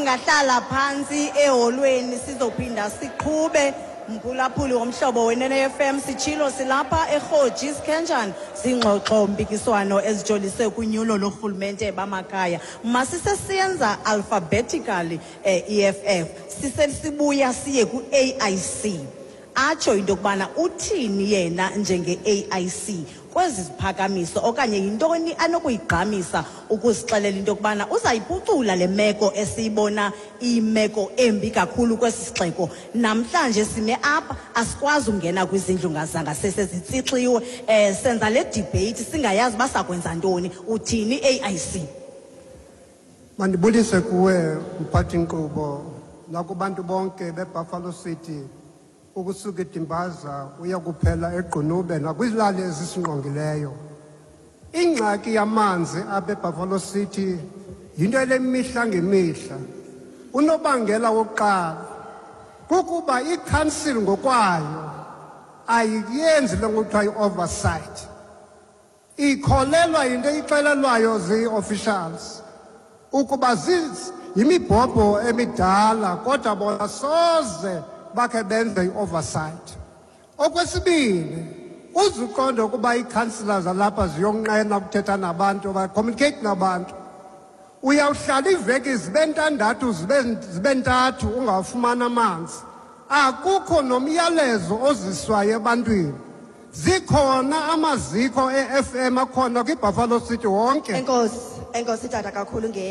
Singahlala phantsi eholweni, sizophinda siqhube. Mphulaphuli woMhlobo Wenene FM, sitshilo silapha eRhoji Sikhenjana, zingxoxo mpikiswano ezijolise kunyulo lorhulumente bamakhaya. Masisesiyenza alphabetically, EFF, sisesibuya siye ku-AIC, atsho into yokubana uthini yena njenge-AIC kwezi ziphakamiso, okanye yintoni anokuyigqamisa ukuzixelela into yokubana uzayiphucula le meko esiyibona iyimeko embi kakhulu kwesi sixeko. Namhlanje sime apha, asikwazi ungena kwizindlu zangasese, zitsixiwe. Senza le debate singayazi uba sakwenza ntoni. Uthini, AIC? Mandibulise kuwe, mphathi-nkqubo, nakubantu bonke beBuffalo City, ukusuka eDimbaza uya kuphela eGqunube nakwizilali ezisingqongileyo. Ingxaki yamanzi apha eBuffalo City yinto elemihla ngemihla. Unobangela wokuqala kukuba i-council ngokwayo ayiyenzi le ngokuthiwa i-oversight. Ikholelwa yinto eyixelelwayo zii-officials ukuba yimibhobho emidala, kodwa bona soze bakhe benze i-oversight. Okwesibini, uzuqonde ukuba iikhansila zalapha ziyonqena ukuthetha nabantu, ba-communicate nabantu. Uyawuhlala iiveki zibe ntandathu, zibe ntathu, ungawufumani amanzi. Akukho nomyalezo oziswayo ebantwini. Zikhona amaziko e-FM akhona kwiBuffalo City wonke. Enkosi, enkosi tata kakhulu nge